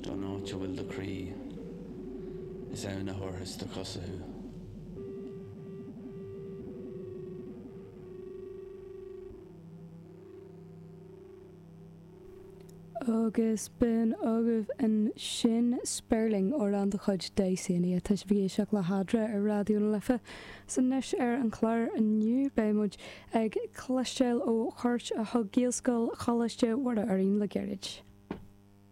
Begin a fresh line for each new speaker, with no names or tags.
Don áit a bhfuil do chroí, is ann a thabharfas do chosa thú.
Agus b'in agaibh ansin Spéirling, amhrán de chuid Dysania. Tá sibh ag éisteacht le hEadra ar Raidió na Life. 'S anois ar an chlár inniu beidh muid ag cloisteáil ó chuairt a thug Gaelscoil Choláiste Mhuire orainn le gairid.